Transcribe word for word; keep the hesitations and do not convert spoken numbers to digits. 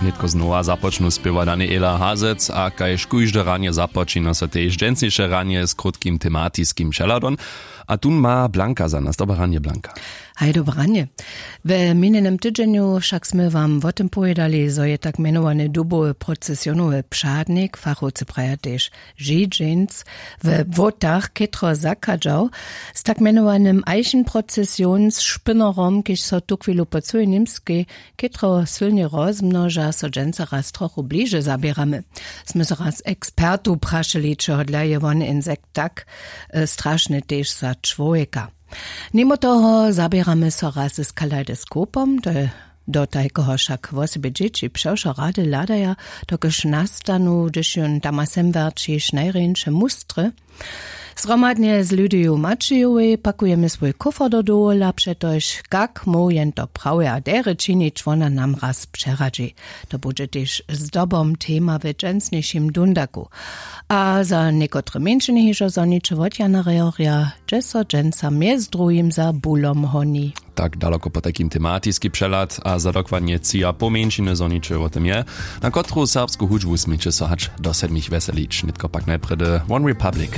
Nětko znowa započnu spěwa daniela hazec a kaž kóžde ranje započina so tež dźensniše ranje z krótkim tematiskim přehladom. A tón ma blanka za nas dobre ranje blanka. Haj dobre ranje. We minjenym tydźenju wšak smy wam wo tym powědali zo je tak mjenowane dubowy procesionowy přadnik fachowcy praja tež židźeńc we włotach chětro zachadźał z tak mjenowanym eichenprocesionsšpynnerom kiž so tuchwilu po cyłej němskej chětro sylnje rozmnoža so dźensa raz trochu bliže zaběramy. Smy so raz ekspertow prašeli čehodla je won insekt tak strašny tež za čłowjeka. Nimo toho zaběramy so raz z kaleidoskopom to je do tajkeho wšak wosebje dźěći přewšo rady hladaja dokelž nastanu hdyž jón tama semwerć jich najrjeńše mustry. Zhromadnje z lydiju maćijowej pakujemy swój kófer do dowola přetož kak móhł jen to prawje a derje činić wona nam raz přeradźi. To budźe tež zdobom tema w dźensnješim dundaku. A za někotre mjeńšiny hižo zhoniće wot jana rehorja hdźe so dźensa mjez druhim za bulom honi. Tak daloko po tajkim tematiski přehlad a za dokładnje tři a pół mjeńšiny zhoniće wo tym je na kotru serbsku hudźbu směće so hač do sedmich wjeselić nětko pak najprjedy one republic.